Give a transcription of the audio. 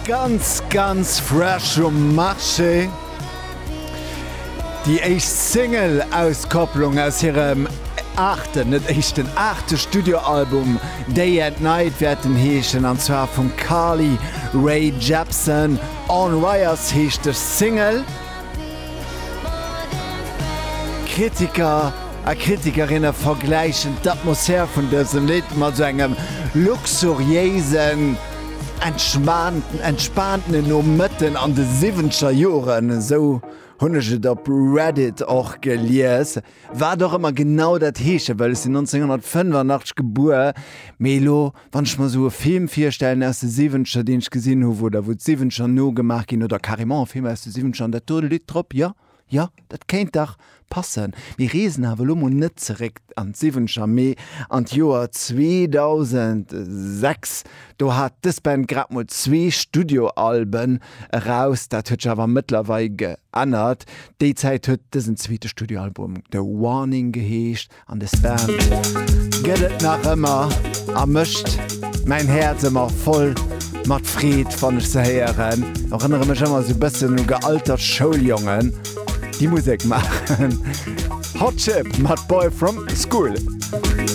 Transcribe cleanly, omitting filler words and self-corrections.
Ganz ganz fresh um Marché. Déi éischt Single-Auskopplung aus hirem aachten, net éischten, aachte Studioalbum Day and Night wäert en heeschen, an zwar vum Carly Rae Jepsen. On Wires heescht dës Single. Kritiker a Kritikerinne vergläichen d'Atmosphär vun dësem Lidd mat sou engem luxuriéisen, entspaantenen Nomëtten an de siwwenzeger Joren, esou hunn ech et op Reddit och gelies. Wat och ëmmer genau dat heesche wëll, ech sinn 1985 gebuer, mee elo wann ech mer esou e Film virstellen aus de siwwenzeger, deen ech gesinn hu, wou da wou d'siwwenzeger nogemaach ginn oder carrément e Film aus de siwwenzeger an dat do Lidd drop, jo, jo, dat kéint dach passen. Mir reesen awer elo mol net zeréck an d'Siwwenzeger, mee an d'Joer 2006. Do hat dës Band grad mol zwee Studioalben eraus. Dat huet sech awer mëttlerweil geännert. Déi Zäit huet dësen zweete Studioalbum The Warning geheescht. An des Band gëtt et nach ëmmer a mécht mäin Häerz ëmmer voll mat Freed, wann ech se héieren. Erënnere mech ëmmer sou bëssen u gealtert Schouljongen, déi Musek maachen. Hot Chip mat Boy From School.